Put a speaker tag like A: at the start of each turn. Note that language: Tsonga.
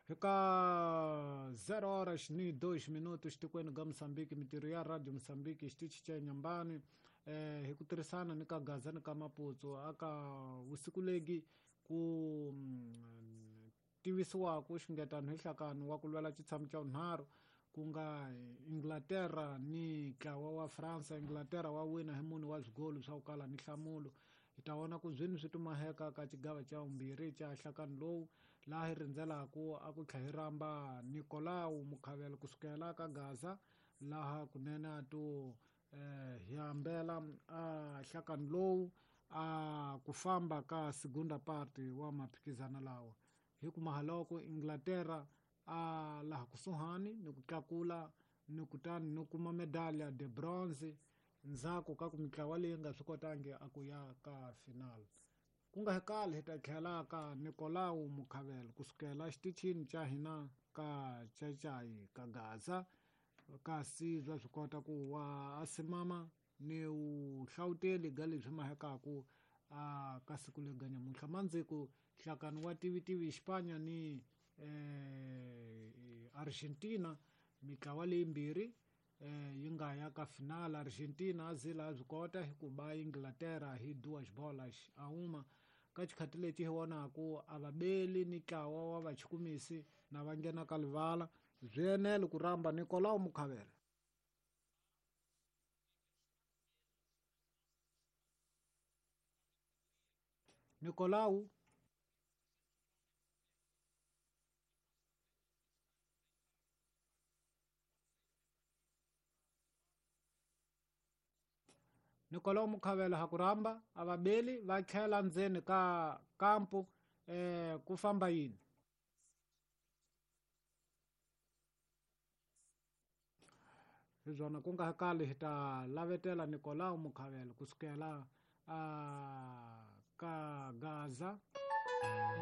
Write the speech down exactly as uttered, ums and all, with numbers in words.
A: Eka zero horas ni dois minutos tikweni ga Mozambique, mintirho ya Radio Mozambique xitichi xa Nyambani eh hi ku tirhisana ni ka Gaza ni ka Maputo aka vusiku legi ku mm, tivisiwaku xingetano hi nhlakano wa ku lwela xitshamo xa vunharhu ku nga Inglaterra ni ntlawa wa France. Inglaterra wa wina hi mune wa swigolo swa ku kala ni nhlamulo. Hi ta vona ku zwini swi tumaheka ka xigava xa vumbirhi xa nhlakano lowu, laha hi rindzelaka a ku tlhela hi rhamba Nicolau Mukhavelo kusukela ka Gaza, laha kunene a to eh, hi hambela a nhlakano lowu a ku famba ka segunda parte wa maphikizano lawa. Hi ku mahaloko Inglaterra a laha kusuhani ni ku tlakula ni kutani ni kuma medalha de bronze ndzhaku ka ku mitlawa leyi nga swi kotangi a ku ya ka final. Ku nga kale hi ta tlhela ka Nicolau Mukhavelo kusukela xitichini xa hina ka Chachai ka Gaza, kasi bya swi kota ku wa a simama ni vuhlawuteli ga leswi mahekaku a ka siku lega nyamuntlha. Mandziku nhlakano wa tivitivi Xipanya ni eh, Argentina, mitlawa leyimbirhi eh, yi nga ya ka final. Argentina a zila a swi kota hi ku ba Inglaterra hi duas bolas a uma. Ka xikhati lexi hi vonaku a va beli ni ntlawa wa vachukumisi na va nghena ka livala. Swi enele ku rhamba Nicolau Mukhavelo. Nicolau Nicolau Mukhavelo ha ku rhamba a va beli va tlhela ndzeni ka kampu eh, ku famba yini. Hi swona ku nga kali hi ta lavetela Nicolau Mukhavelo kusukela a ka Gaza.